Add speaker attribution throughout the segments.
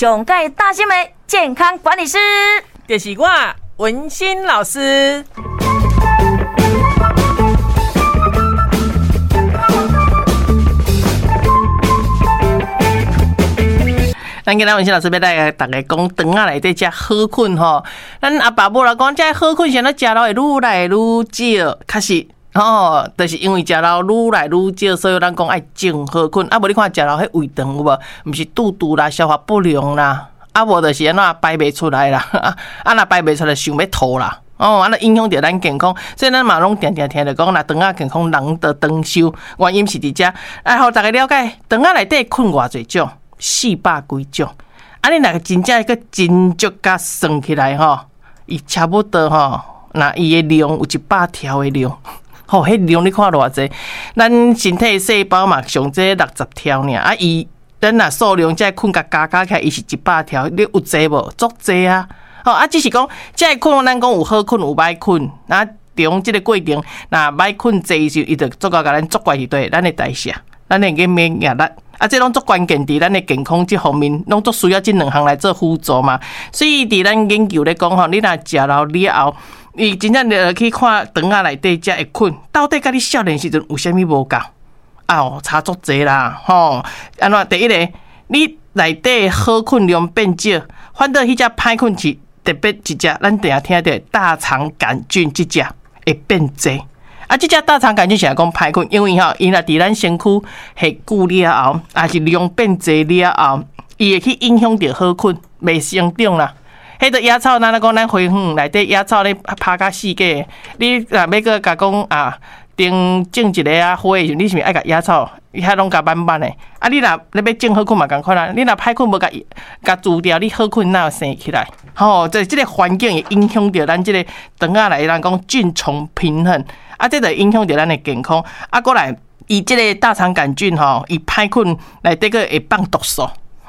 Speaker 1: 上蓋貼心的健康管理師，
Speaker 2: 就是我文心老師。咱今仔文心老師欲來共大家講，腸仔內底這好菌吼。咱阿爸母來講，這好菌啥物食落會愈來愈少，確實吼，就是因為食落愈來愈少，所以咱講愛種好菌。啊，無你看食落彼胃腸有無？毋是肚肚啦，消化不良啦，啊無就是按怎排袂出來啦，啊若排袂出來想欲吐啦。哦，按呢影響著咱健康，所以咱嘛攏定定聽著講，若腸仔健康，人就長壽。原因是佇遮，來予逐家了解，腸仔內底菌偌濟種。400幾種，啊！你若真正閣真足共算起來吼，伊差不多吼，若伊的量有100條的量，吼，彼量你看偌濟？咱身體細胞嘛上濟60條爾，啊伊咱若數量這個菌共加加起來，伊是100條，你有濟無？足濟啊！吼啊，只是講這個菌，咱講有好菌有歹菌，啊，中這個過程，若歹菌濟時，伊就足夠共咱作怪佇佗，咱的代謝，咱的免疫力。啊，這攏足關鍵，佇咱的健康這方面，攏足需要這兩項來做輔助嘛。所以佇咱研究咧講吼，你若食老了後，伊真正入去看腸仔內底遮的菌，到底佮你少年時陣有啥物無仝？啊，差足濟啦，吼！按怎？第一個，你內底好菌量變少，反倒彼隻歹菌是特別一隻，咱定定聽著大腸桿菌這隻會變濟。啊，這隻大腸桿菌是來講歹菌，因為吼，伊若佇咱身軀下久了後，抑是量變濟了後，伊會去影響著好菌，袂生長啦。彼個野草，咱咧講咱花園內底野草咧拍甲四界，你若欲閣共講啊，種種一個啊花的時陣，你是毋是愛共野草遐攏共挽挽的？啊，你若你欲種好菌嘛仝款啊，你若歹菌無共伊共除掉，你好菌哪有生起來？吼，這個環境會影響著咱這個腸仔內人講菌叢平衡。啊，這就影響著咱的健康。啊，閣來，伊這個大腸桿菌吼，伊歹菌內底閣會放毒素。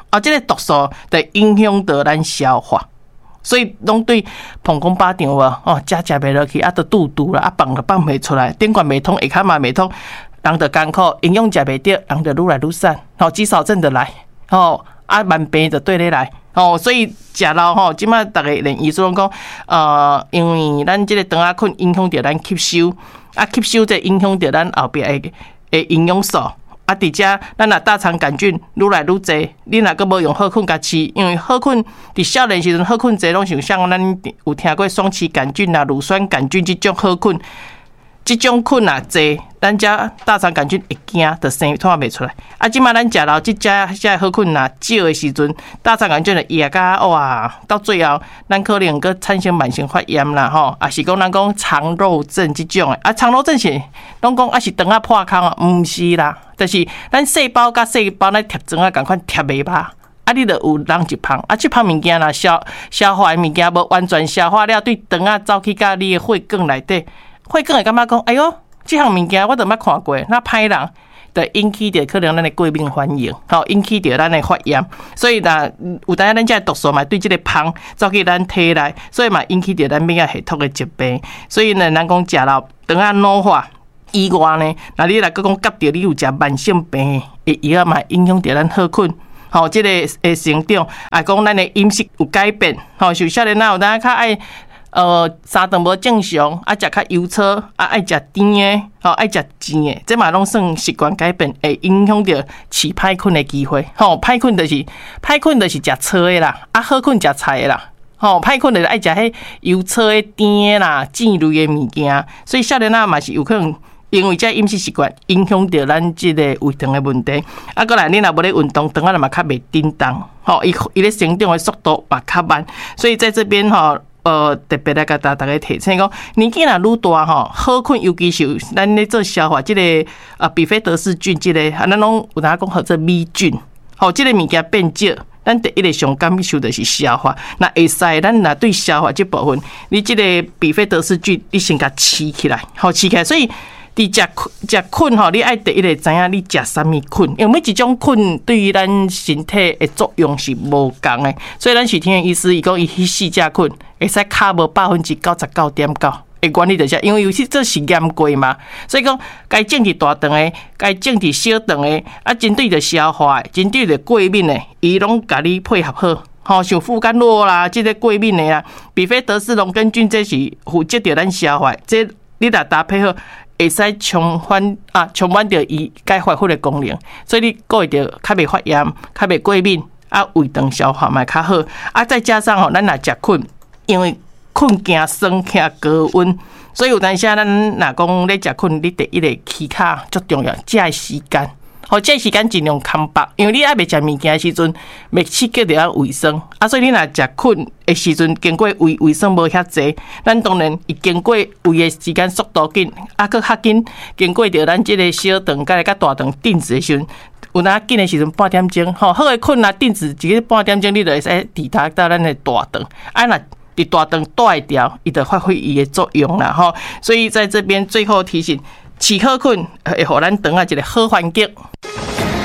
Speaker 2: 啊，這個毒素就影響著咱消化，所以攏對膀胱把腸無哦，食食袂落去，啊，就肚肚啦，啊，放就放袂出來，頂懸袂通，下跤嘛袂通，人就艱苦，營養食袂著，人就愈來愈瘦，吼，肌少症就來，吼，啊，慢病就綴咧來。吼，所以食老吼，這擺逐家連醫師攏講，因為咱這個腸仔菌影響著咱吸收，啊，吸收這影響著咱後壁的營養素。啊，佇遮咱若大腸桿菌愈來愈濟，你若閣無用好菌共飼，因為好菌佇少年時陣好菌濟，攏是像咱有聽過雙歧桿菌啦、乳酸桿菌這種好菌。這種菌若濟，咱遮大腸桿菌會驚，就生拖袂出來。啊，這擺咱食老這遮好菌若少的時陣，大腸桿菌就壓甲哇，到最後咱可能閣產生慢性發炎啦，吼，抑是講咱講腸漏症這種的。啊，腸漏症是攏講啊是腸仔破空啊，毋是啦，就是咱細胞佮細胞咧貼腸仔仝款貼袂飽。啊，你就有人一芳，啊，這芳物件若消化的物件無完全消化了，對腸仔走去佮你的血管內底。血管會感覺講，哎喲，這項物件我都毋捌看過，那歹人就引起著可能咱的過敏反應，吼，引起著咱的發炎。所以若有當咱這毒素嘛，對這個芳走去咱體內，所以嘛引起著咱免疫系統的疾病。所以呢，咱講食老腸仔老化以外呢，若你若閣講夾著你有食慢性病的藥嘛，影響著咱好菌，吼，這個會成長，啊，講咱的飲食有改變，吼，像少年仔有當較愛。三頓無正常，啊，食較油粗，啊，愛食甜的，吼，愛食煎的，這嘛攏算習慣改變，會影響著飼歹菌的機會。吼，歹菌就是食粗的啦，啊，好菌食菜的啦。吼，歹菌就是愛食彼油粗的、甜的啦、煎類的物件，所以少年仔嘛是有可能因為這飲食習慣影響著咱這個胃腸的問題。啊，閣來你若無咧運動，腸仔嘛較袂振動，吼，伊伊咧成長的速度嘛較慢，所以在這邊吼。特別來共大家提醒講，年紀若愈大吼，好菌尤其是咱咧做消化這個啊，比菲德氏菌這個，啊，咱攏有當講號做米菌，吼，這個物件變少，咱第一個上感受就是消化。若會使，咱若對消化這部分，你這個比菲德氏菌，你先共飼起來，吼，飼起來，所以。佇食食菌吼，你愛第一个知影你食啥物菌，因為每一種菌對於咱身體的作用是無仝的，所以咱是聽醫師伊講，伊彼四隻菌會使跤無99.9。的原理就是因為有去做實驗過嘛，所以講該種佇大腸的，該種佇小腸的，啊，針對著消化的，針對著過敏的，伊攏共你配合好。吼，像富甘諾啦，這個過敏的啦，比菲德氏龍根菌，這是負責著咱消化，這你若搭配好，會使充反啊，充滿著伊該發揮的功能，所以你閣會著較袂發炎，較袂過敏，啊，胃腸消化嘛較好，啊，再加上吼，咱若食睏，因為睏驚酸，驚高溫，所以有當時咱若講咧食睏，你第一个起跤足重要，食的時間。吼，這時間盡量空腹，因為你猶未食物件的時陣，袂刺激著咱胃酸，啊，所以你若食睏的時陣，經過胃胃酸無遐濟，咱當然伊經過胃的時間速度緊，啊，閣較緊經過著咱這个小腸佮佮大腸定植的時陣，有當緊的時陣半點鐘，吼，好的睏啊定植一个半點鐘，你就會使抵達到咱的大腸，啊若佇大腸蹛會牢，伊就發揮伊的作用啦，吼，所以在這邊最後提醒，飼好睏會予咱腸仔一个好環境。